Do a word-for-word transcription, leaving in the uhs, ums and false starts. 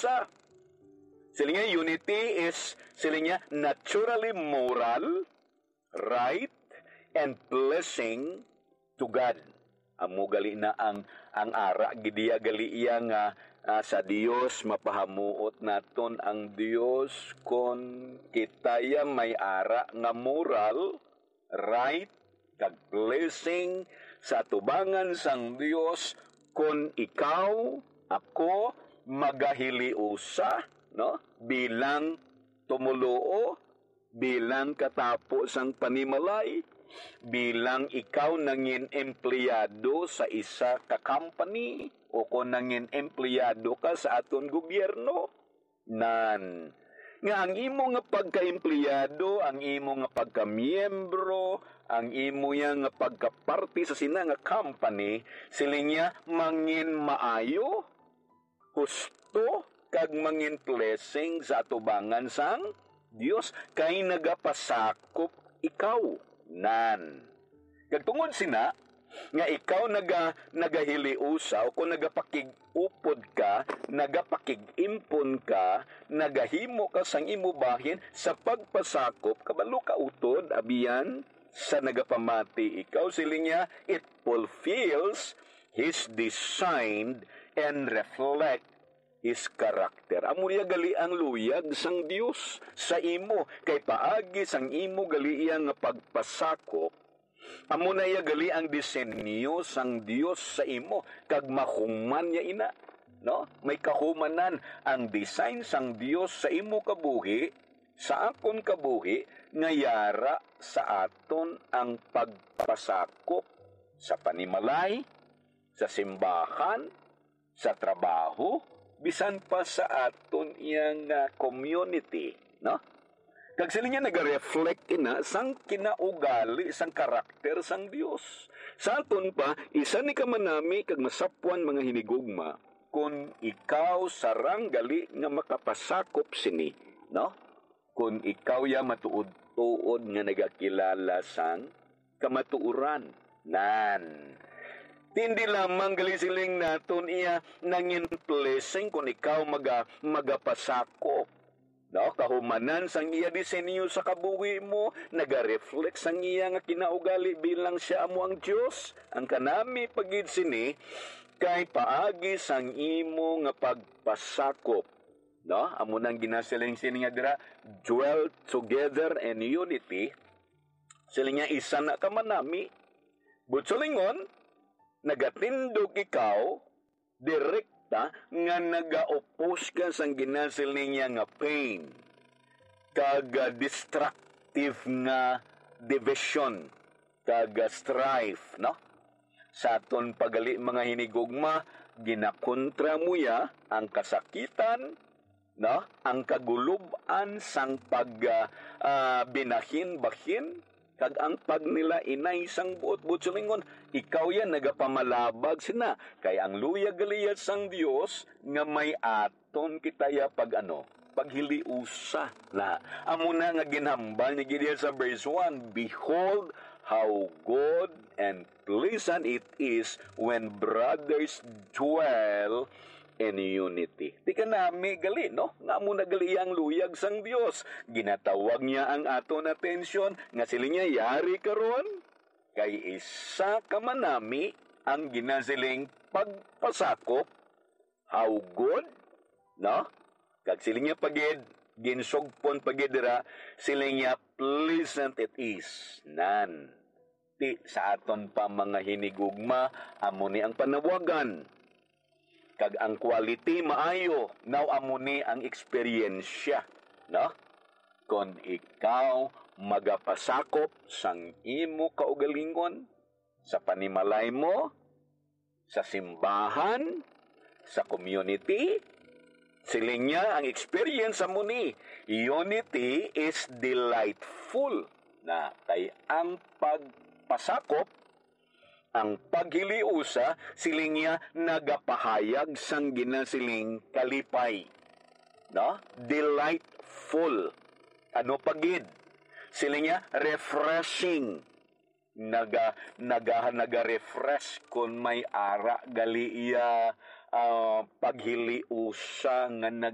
usa. Siling niya, unity is, siling niya, naturally moral, right, and pleasing to God. Amo gali na ang, ang ara gid iya gali iya nga, ah, sa Dios, mapahamuot naton ang Dios kon kita ya may ara nga moral, right, kag blessing sa atubangan sang Dios kon ikaw, ako, magahiliusa, no? Bilang tumoluo, bilang katapo sang panimalay, bilang ikaw nangin empleyado sa isa ka company, o kon nangin empleyado ka sa aton gobyerno. Nan, nga ang imo nga pagkaempleyado, ang imo nga pagkamiyembro, ang imo ya nga pagkaparte sa sina nga company, siling niya, mangin maayo, husto, kag mangin blessing sa atubangan sang Dios, kay nagapasakop ikaw. Nan. Kag tungod sina, nga ikaw naga-, nagahiliusa, o kon nagapakig-upod ka, nagapakig-impon ka, nagahimo ka sang imo bahin sa pagpasakop, kabalo ka utod, abiyan, sa nagapamati ikaw, siling niya, it fulfills his design and reflect his character. Amo niya gali ang luyag sang Dios sa imo, kay paagi sang imo gali iya nga pagpasakop, amo na iya gali ang disenyo sang Dios sa imo, kag mahuman niya ina, no? May kahumanan ang design sang Dios sa imo kabuhi, sa akon kabuhi, nga yara sa aton ang pagpasakop sa panimalay, sa simbahan, sa trabaho, bisan pa sa aton iyang, ah, community, no? Kag sila niya naga-reflect ina sang kinaugali sang karakter sang Dios. Sa aton pa, isa ni ka manami kag masapwan mga hinigugma, kon ikaw sarang gali nga makapasakop sini, no? Kon ikaw ya matuod-tuod nga nagakilala sang kamatuoran. Nan. Tindi lamang gali siling naton iya nangin blessing kon ikaw maga-, magapasakop. No, kahumanan sang iya disenyo sa kabuhi mo, naga-reflect sang iya nga kinaugali bilang siya amo ang Dios. Ang kanami pa gid sini kay paagi sang imo nga pagpasakop. No, amo nang ginasiling sini nga dira, dwell together in unity. Siling niya, isa na ka manami. Butsulingon, nagatindog ikaw direkta nga nagaopos ka sang ginasiling niya nga pain, kag, ah, destructive nga division, kag, ah, strife, no? Sa aton pa gali mga hinigugma, ginakontra mo ya ang kasakitan, no? Ang kagulub-an sang pag, ah, ah, binahin-bahin, kag ang pagnilainay sang buot-buot. Silingon, ikaw yan nagapamalabag sina, kay ang luyag gali ya sang Dios nga may aton kita ya pag ano, paghiliusa na. Amo na nga ginhambal ni Gideon sa verse one, "Behold how good and pleasant it is when brothers dwell in unity." Di ka nami gali, no? Nga amo na gali ang luyag sang Dios. Ginatawag niya ang aton atensyon nga sila niya yari karon kay isa ka manami ang ginasiling pagpasakop, how good, no? Kag sila niya pagid, ginsugpon pagid dira, sila niya pleasant it is. Nan. Ti sa aton pa mga hinigugma, amo ni ang panawagan. Kag ang quality maayo, now amo ni ang eksperyensya, no? Kon ikaw magapasakop sang imo kaugalingon, sa panimalay mo, sa simbahan, sa community, siling niya, ang experience amo ni, unity is delightful. Na kay ang pagpasakop, ang paghiliusa, siling niya, nagapahayag sang ginasiling kalipay. No? Delightful. Ano pa gid? Siling niya, refreshing. Naga-, naga-, naga-refresh kon may ara gali iya, ah, paghiliusa nga